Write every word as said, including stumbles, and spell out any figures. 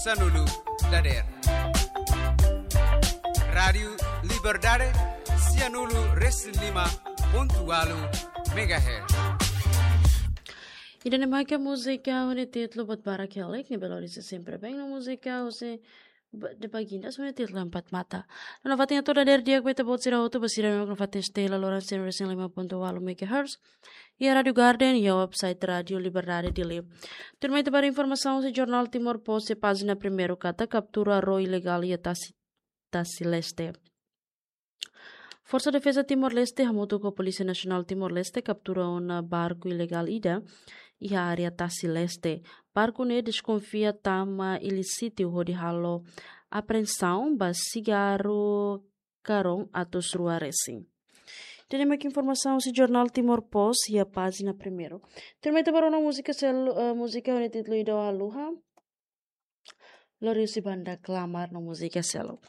Sanulu dader. Rádiu Liberdade, sianulu resin lima pontu walu megahertz. Ida-ne'e mak múzika ho nia títulu Buat Barak Hela, ne'ebé lori sempre bem no múzika husi ba-, de Baginda ho nia títulu Empat Mata. No nafatin atu dader di'ak ba ita-boot sira hotu, ba sira mak nafatin stay la loran cem resin lima pontu walu megahertz. Iha Rádiu Garden, iha website Rádiu Liberdade Dili. Tuirmai ita ba informasaun husi jornál Timor Post iha pájina primeiru katak kaptura ró ilegál iha Tasi, Tasi Leste. Forsa Defeza Timor-Leste hamutuk ho Polísia Nasionál Timor-Leste kaptura ona barku ilegál ida iha área Tasi Leste. Barku ne'e deskonfia tama ilísitu hodi halo apreensaun ba sigarru karón atus rua resin. Ida-ne'e mak informasaun husi jornál Timor Post iha pájina primeiru. Tuirmai ita ba rona múzika sel-, eh, múzika ho nia títulu Ida Haluha. Lori husi banda Klamar no múzika seluk.